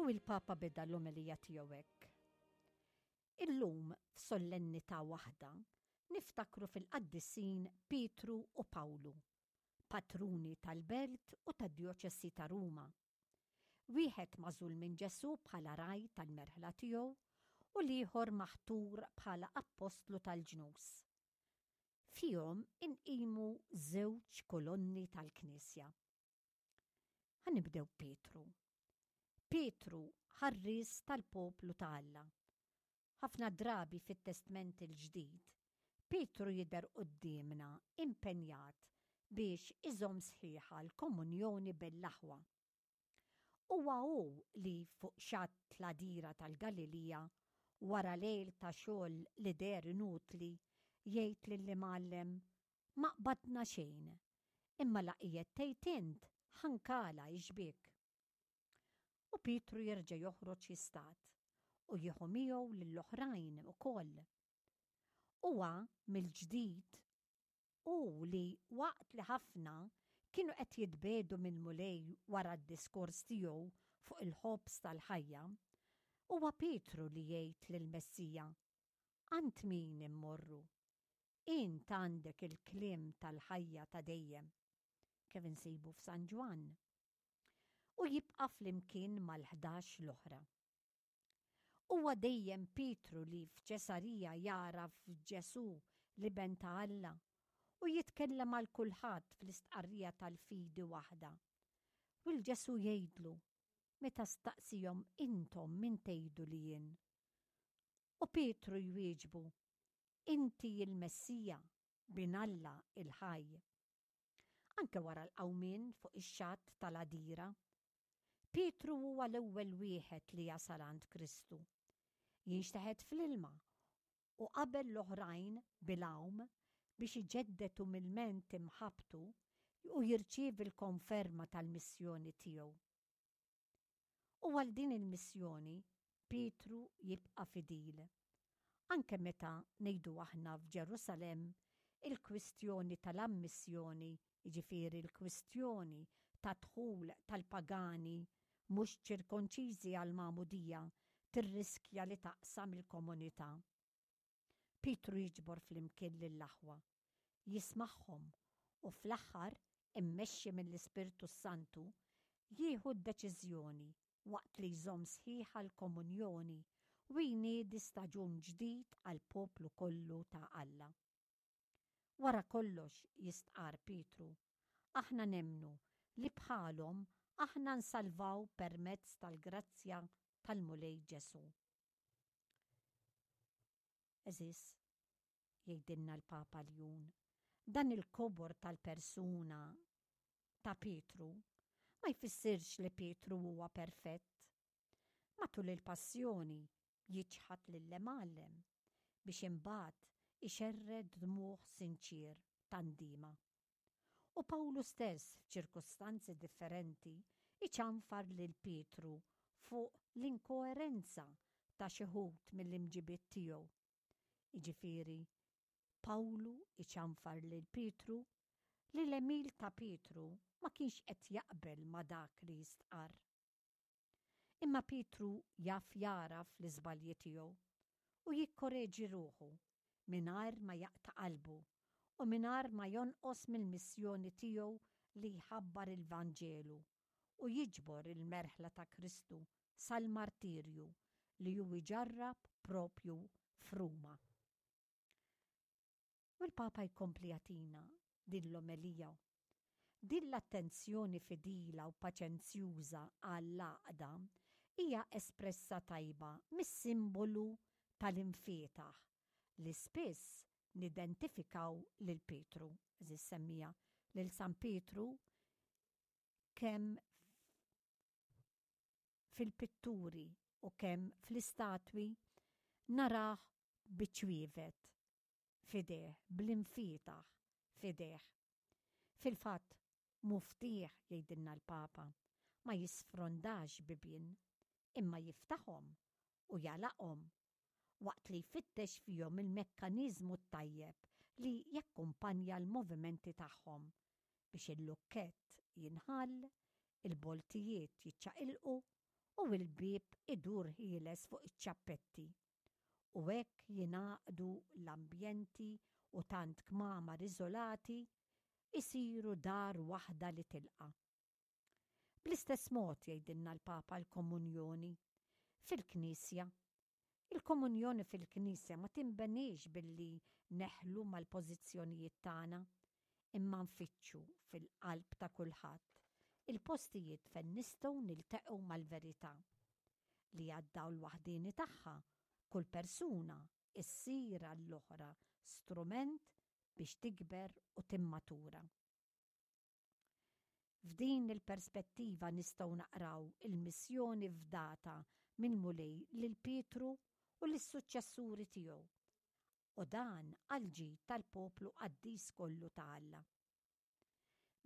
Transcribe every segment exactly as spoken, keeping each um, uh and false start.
U il-Papa beda l-omelija tiegħu hekk. Illum f'sollennità waħda niftakru fil-qaddisin Pietru u Pawlu, patruni tal-belt u tad-djoċesi ta' Ruma. Wieħed magħżul minn Ġesù bħala ragħaj tal-merħla tiegħu u l-ieħor maħtur bħala appostlu tal-ġnus. Fihom inqimu żewġ kolonni tal-Knisja. Ħa nibdew Pietru. Pietru ħarries tal-poplu ta' Alla. Ħafna drabi fit-Testment il-Ġdid, Pietru jidher quddiemna impenjat biex iżomm sħiħa l-komunjoni bejn l-aħwa. Huwa hu li fuq xatt l-għadira tal-Galilija, wara lejl ta' xogħol li deher inutli, jgħid lill-Imgħallem, "Ma qbadna xejn, imma la qiegħed tgħid int ħa nkala x-xbiek." U Pietru jerġa' joħroġ jistad u jieħu miegħu lill-oħrajn ukoll. Huwa mill-ġdid u li waqt li ħafna kienu qed jitbiegħdu mill-Mulej wara d-diskors tiegħu fuq il-ħobż tal-ħajja, huwa Pietru li jgħid lill-Messija, "Għand min immorru? Int għandek il-kliem tal-ħajja ta' dejjem," kif insibu f'San Ġwann. U jibqa' flimkien mal-ħdax l-oħra. Huwa dejjem Pietru li f'Ċesarija jara f'Ġesù l-Iben ta' Alla u jitkellem għal kulħadd fl-istqarrija tal-fidi waħda. U 'l Ġesù jgħidlu meta staqsihom, "Intom min tgħidu li jien?" U Pietru jwieġbu, "Inti il-Messija, bin Alla il-ħaj." Anke wara l-qawmien fuq ix-xatt tal-għadira, Pietru huwa l-ewwel wieħed li jasal għand Kristu. Jinxteħet fl-ilma u qabel l-oħrajn bil-għawm biex iġedded umilment imħabbtu u jirċievi l-konferma tal-missjoni tiegħu. U għal din il-missjoni Pietru jibqa' fidil. Anke meta, ngħidu aħna, f'Ġerusalem il-kwistjoni tal-ammissjoni, jiġifieri l-kwistjoni ta' dħul tal-pagani mhux ċirkonċiżi għall-magħmudija, tirriskja li taqsam il-komunità. Pietru jiġbor flimkien lill-aħwa, jismagħhom u fl-aħħar, immexxi mill-Ispirtu Santu, jieħu d-deċiżjoni waqt li jżomm sħiħa l-komunjoni u jniedi staġun ġdid għall-poplu kollu ta' Alla. "Wara kollox," jistqar Pietru, "aħna nemmnu li bħalhom aħna nsalvaw permezz tal-grazzja tal-Mulej Ġesù." Għeżież, jgħidilna l-Papa Ljun, dan il-kobor tal-persuna ta' Pietru ma jfissirx li Pietru huwa perfett. Matul il-passjoni jiċħad lill-Imgħallem biex imbagħad ixerred dmugħ sinċier ta' ndiema. U Pawlu stess f'ċirkustanzi differenti iċanfar lil Pietru fuq l-inkoerenza ta' xi wħud mill-imġibiet tiegħu. Jiġifieri, Pawlu iċanfar lil Pietru li l-għemil ta' Pietru ma kienx qed jaqbel ma' dak li jistqar. Imma Pietru jaf jagħraf l-iżbalji tiegħu u jikkoreġi ruħu mingħajr ma jaqta' qalbu u mingħajr ma jonqos mill-missjoni tiegħu li jħabbar il-Vanġelu u jiġbor il-merħla ta' Kristu sal-martirju li hu iġarrab propju f'Ruma. U l-Papa jkompli jagħtina din l-omelija. Din l-attenzjoni fidila u paċenzjuża għall-għaqda hija espressa tajba mis-simbolu tal-imfietaħ li spiss nidentifikaw lil Pietru, għeżież semmiegħa, lil San Pietru kemm fil-pitturi u kemm fl-istatwi narah biċ-ċwievet f'idejh, bl-imfietaħ f'idejh. Fil-fatt, muftieħ, jgħidilna l-Papa, ma jisfrondax bibien, imma jiftaħhom u jagħlaqhom waqt li jfittex fihom il-mekkaniżmu tajjeb li jakkumpanja l-movimenti tagħhom biex il-lukkett jinħall, il-boltijiet jiċċaqilqu. U l-bieb idur ħieles fuq iċ-ċappetti. U hekk jingħaqdu l-ambjenti u tant kmamar iżolati isiru dar waħda li tilqa'. Bl-istess mod jgħidilna l-Papa l-komunjoni fil-Knisja. Il-komunjoni fil-Knisja ma tinbeniex billi neħlu mal-pożizzjonijiet tagħna, imma nfittxu fil-qalb ta' kulħadd il-postijiet fejn nistgħu niltaqgħu mal-verità li għad-dawl waħdieni tagħha kull persuna issir għall-oħra strument biex tikber u timmatura. F'din il-perspettiva nistgħu naqraw il-missjoni fdata mill-Mulej lil Pietru u lis-suċċessuri tiegħu, u dan għall-ġid tal-poplu qaddis kollu ta' Alla.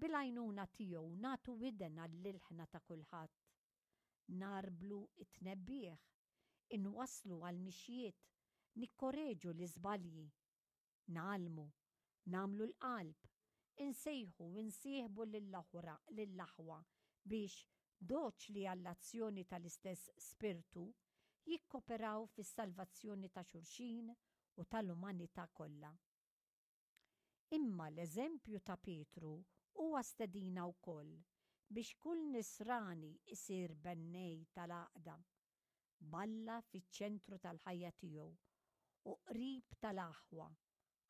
Bil-għajnuna tiegħu nagħtu widen għall-ilħna ta' kulħadd, narblu t-tnebbiħ, inwasslu għall-mixjiet, nikkoreġu l-iżbalji, ngħallmu, nagħmlu l-qalb, insejħu u nsieħbu lill-aħwa lill-aħwa biex, doċli għall-azzjoni tal-istess Spirtu, jikkoperaw fis-salvazzjoni ta' xulxin u tal-umanità kollha. Imma l-eżempju ta' Pietru huwa stedina wkoll biex kull Nisrani jsir bennej tal-għaqda, b'Alla fiċ-ċentru tal-ħajja tiegħu u qrib tal-aħwa,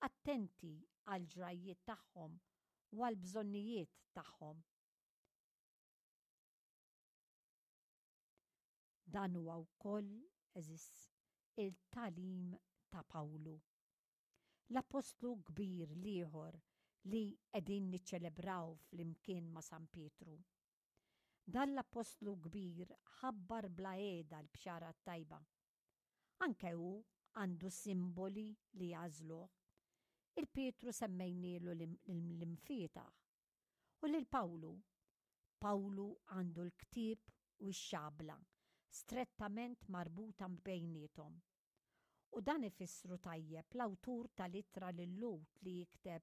attenti għall-ġrajjiet tagħhom u għall-bżonnijiet tagħhom. Dan huwa wkoll, għeżież, il-tagħlim ta' Pawlu. L-appostlu kbir l-ieħor li qegħdin niċċelebraw flimkien ma' San Pietru. Dan l-appostlu kbir ħabbar bla qiegħda l-bxara t-tajba. Anke hu għandu simboli li jagħżluh. Il-Pietru semmejnielu l-imfietaħ. U lil Pawlu, Pawlu għandu l-ktieb u x-xabla strettament marbuta bejniethom. U dan ifissru tajjeb l-awtur tal-ittra lil-Lhud li jikteb,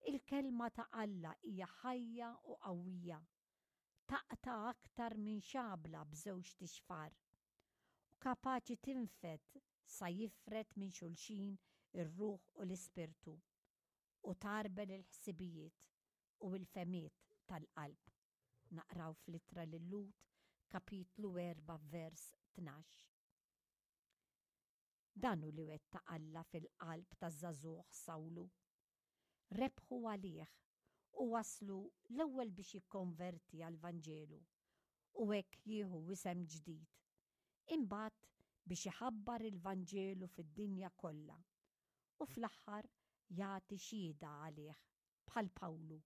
Il-kelma ta' Alla hija ħajja u qawwija, taqta' aktar minn xabla b'żewġt ixfar, u kapaċi tinfed sa jifred minn xulxin ir-ruħ u l-ispirtu, u tgħarbel il-ħsibijiet u l-fehmiet tal-qalb. Naqraw fl-ittra lil-Lhud, kapitlu erbgħa vers tnax. Dan hu li wettaq Alla fil-qalb taż-żagħżugħ Sawlu. Rebħu għalih u waslu l-ewwel biex jikkonverti għall-Vanġelu u hekk jieħu isem ġdid, imbagħad biex iħabbar il-Vanġelu fid-dinja kollha u fl-aħħar jagħti xhieda għalih bħal Pawlu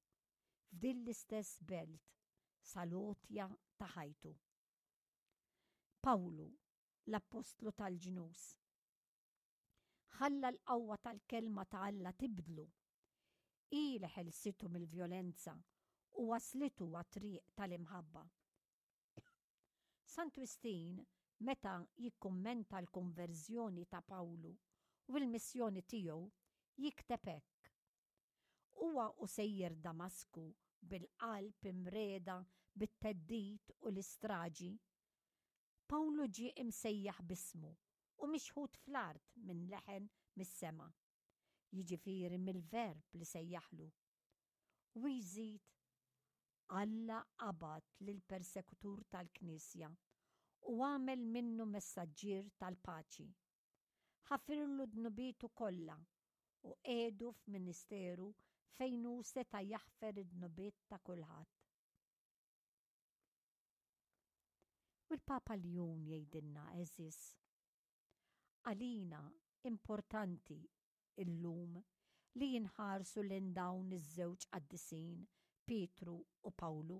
f'din l-istess belt sal-għotja ta' ħajtu. Pawlu, l-appostlu tal-ġnus, ħalla l-qawwa tal-kelma ta' Alla tibdlu. Hi li ħelsitu mill-vjolenza u waslitu għat-triq tal-imħabba. Sant Wistin, meta jikkummenta l-konverżjoni ta' Pawlu u l-missjoni tiegħu, jikteb hekk. Huwa u sejjer Damasku bil-qalb imreda bit-theddid u l-istraġi, Pawlu ġie imsejjaħ b'ismu u mixħut fl-art minn leħen mis-sema, jiġifieri mill-Verb li sejjaħlu. U jżid, Alla qabad lill-persekutur tal-Knisja u għamel minnu messaġġier tal-paċi. Ħafirlu dnubietu kollha u qiegħdu f'ministeru fejn hu seta' jaħfer id-dnubiet ta' kulħadd. U l-Papa Ljun jgħidilna, għeżież, għalina importanti illum li jinħarsu lejn dawn iż-żewġ qaddisin, Pietru u Pawlu,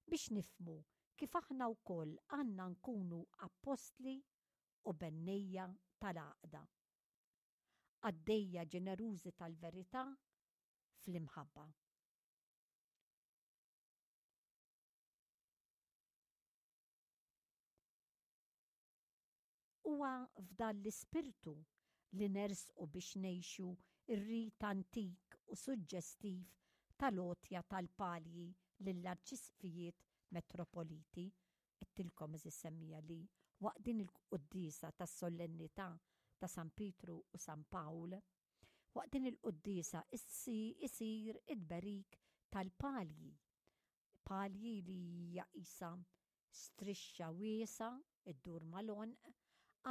biex nifhmu kif aħna wkoll għandna nkunu appostli u bennejja tal-għaqda, qaddejja ġenerużi tal-verità fl-imħabba. Huwa f'dan l-ispirtu li nersqu biex ngħixu r-rit antik u suġġestiv tal-għotja tal-palji lill-arċisqfijiet metropoliti Għedtilkom, għeżież semmiegħa, li waqt din il-quddiesa tas-solennità ta' San Pietru u San Pawl, waqt din il-quddiesa isir it-tberik tal-palji. Palji li hija qisha strixxa wiesgħa ddur mal-għonq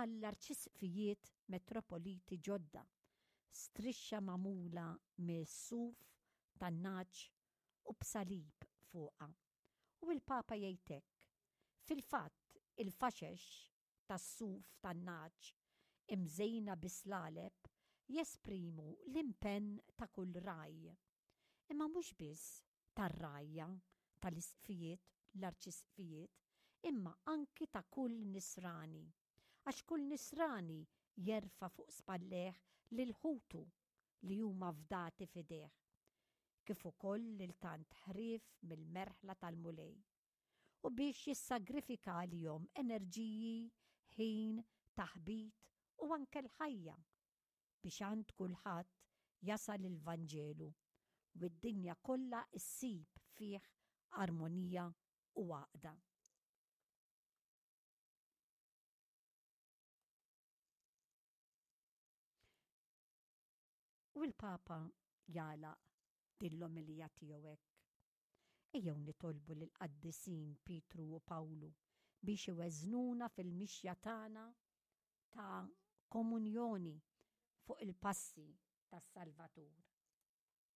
għall-arċisqfijiet metropoliti ġodda. Strixxa magħmula mis-suf tan-nagħaġ u b'salib fuqha. U l-Papa jgħid hekk: Fil-fatt, il-faxex tas-suf tan-nagħaġ imżejna bis-slaleb jesprimu l-impenn ta' kull ragħaj. Imma mhux biss tar-rgħajja tal-isqfijiet, l-arċisqfijiet, imma anki ta' kull nisrani. Għax kull nisrani jerfa' fuq spallejh lil ħutu li huma fdati f'idejh, kif ukoll lil tant ħrief mill-merħla tal-Mulej, u biex jissagrifika għalihom enerġiji, ħin, taħbit u anke l-ħajja biex għand kulħadd jasal il-Vanġelu u d-dinja kollha ssib fih armonija u għaqda. U l-Papa jagħlaq din l-omelija tiegħu hekk: Ejjew nitolbu lill-qaddisin Pietru u Pawlu biex iweżnuna fil-mixja tagħna ta' komunjoni fuq il-passi tas-Salvatur.